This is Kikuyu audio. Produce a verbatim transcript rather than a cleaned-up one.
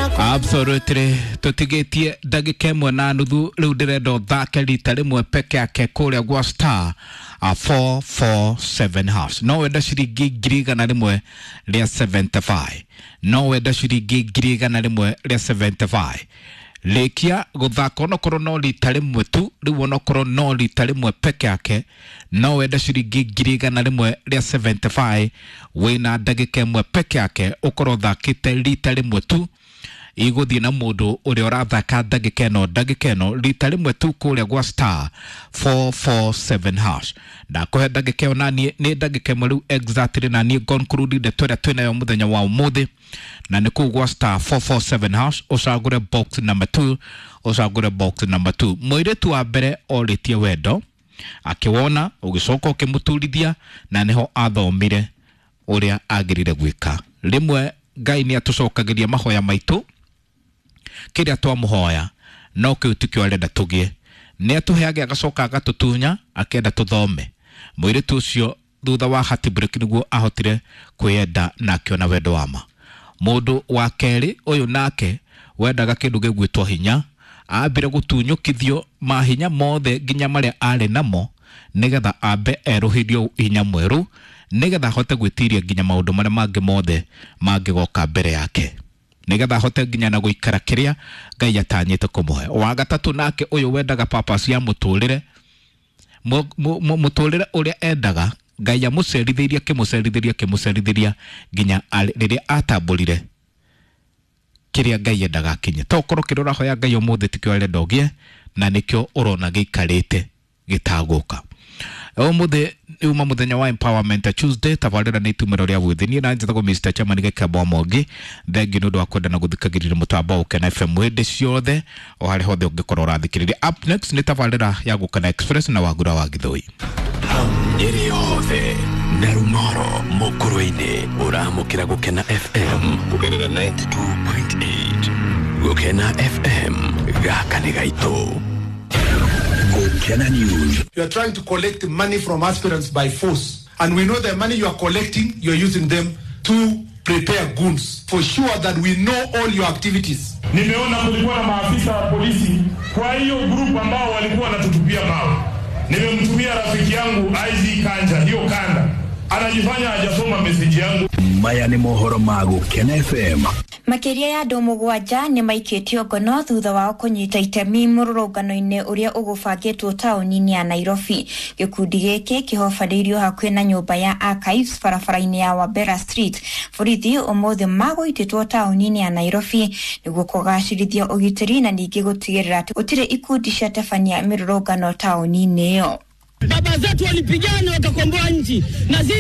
Absolutely, tutigitie ndagika ĩmwe na nuthu rĩu ndĩrenda ũthake rita rĩmwe peke yake kũrĩa gwa star four four seven hash. No wenda ciringi ngiri igana rĩmwe rĩa seventy five, no wenda ciringi ngiri igana rĩmwe rĩa seventy five. Rĩkia gũthaka onokorwo no rita rĩmwe tu, rĩu onokorwo no rita rĩmwe peke yake, no wenda ciringi ngiri igana rĩmwe rĩa seventy five, wĩna ndagĩka ĩmwe peke yake ũkorwo ũthakĩte rita rĩmwe tu. Igũthiĩ na mũndũ ũrĩa ũrathaka ndagĩka ĩno ndagĩka ĩno rita rĩmwe tu kũrĩa gwa star four four seven hash. Ndakũhe ndagĩka ĩyo naniĩ nĩ ndagĩka ĩmwe rĩu exactly na niĩ conclude ndeto ĩrĩa twĩnayo mũthenya wa ũmũthĩ, na nĩ kũu gwa star four four seven hash ũcagũre box number two, ũcagũre box number two. Mũirĩtu wa mbere orĩtie wendo akĩwona, ũgĩcoka ũkĩmũturithia, na nĩho athomire ũrĩa agĩrĩire gwĩka. Rĩmwe Ngai nĩ atũcokagĩria mahoya maitũ kĩrĩa twamũhoya, no kĩu tikĩo arenda tũgĩe. Nĩ atũheage agacoka agatũtunya akenda tũthome. Mũirĩtu ũcio thutha wa heartbreak nĩguo ahotire kwĩyenda na akĩona wendo wa ma. Mũndũ wa kerĩ ũyũ nake wendaga kĩndũ gĩgwĩtwo hinya, ambire gũtunyũkithio mahinya mothe nginya marĩa arĩ namo nĩgetha ambe erũhĩrio hinya mwerũ nĩgetha ahote gwĩtiria nginya maũndũ marĩa mangĩ mothe mangĩgoka mbere yake, nĩgetha ahote nginya na gũikara kĩrĩa Ngai atanyĩte kũmũhe. Wa gatatũ nake ũyũ wendaga purpose ya mũtũrĩre, mũtũrĩre ũrĩa endaga Ngai amũcerithĩirie akĩmũcerithĩria akĩmũcerithĩria nginya rĩrĩa atambũrire kĩrĩa Ngai endaga akinye. To korwo kĩrĩa ũrahoya Ngai ũmũthĩ tikĩo arenda ũgĩe, na nĩkĩo ũrona gĩikarĩte gĩtagũka. Ũmũthĩ uma mũthenya wa Empowerment Tuesday, tabarĩra nĩ itumĩro rĩa gwĩthĩ. Niĩ na njĩtagwo Mister Chairman Gĩkembo wa Mwangi. Thengiũ nĩ ũndũ wa kwenda na gũthikagĩrĩria mũtambo wa Gũkena F M hĩndĩ ciothe o harĩa hothe ũngĩkorwo ũrathikĩrĩria. Up next nĩ tabarĩra ya Gũkena Express na Wagura wa Gĩthũi. Nyĩrĩ yothe na Rung'oro mũkũrũ-inĩ ũramũkĩra Gũkena F M kũgerera ninety two point eight. Gũkena F M gaka nĩ gaitũ. Gũkena News. You are trying to collect money from aspirants by force, and we know the money you are collecting, you are using them to prepare goons. For sure that we know all your activities. Nimeona kulikuwa na maafisa wa polisi kwa hiyo group ambao walikuwa wanatutupia mawe. Nimemtumia rafiki yangu I Z Kanja hiyo kanda, anajifanya hajasoma message yangu. Maya nĩ mohoro ma Gũkena F M. Makĩria ya andũ mũgwanja nĩ maikĩtio ngono thutha wao kũnyita itemi mũrũrũngano-inĩ ũrĩa ũgũbangĩtwo taũni-inĩ ya Nairobi. Gĩkundi gĩkĩ kĩhobanĩirio hakuhĩ na nyũmba ya Archives barabara-inĩ ya Wabera Street. Borithi ũmũthĩ magũitĩtwo taũni-inĩ ya Nairobi nĩguo kũgacĩrithia ũgitĩri na ningĩ gũtigĩrĩra atĩ gũtirĩ ikundi ciatabania mĩrũrũngano taũni-inĩ ĩyo. Baba zetu walipigana wakakomboa nchi na sisi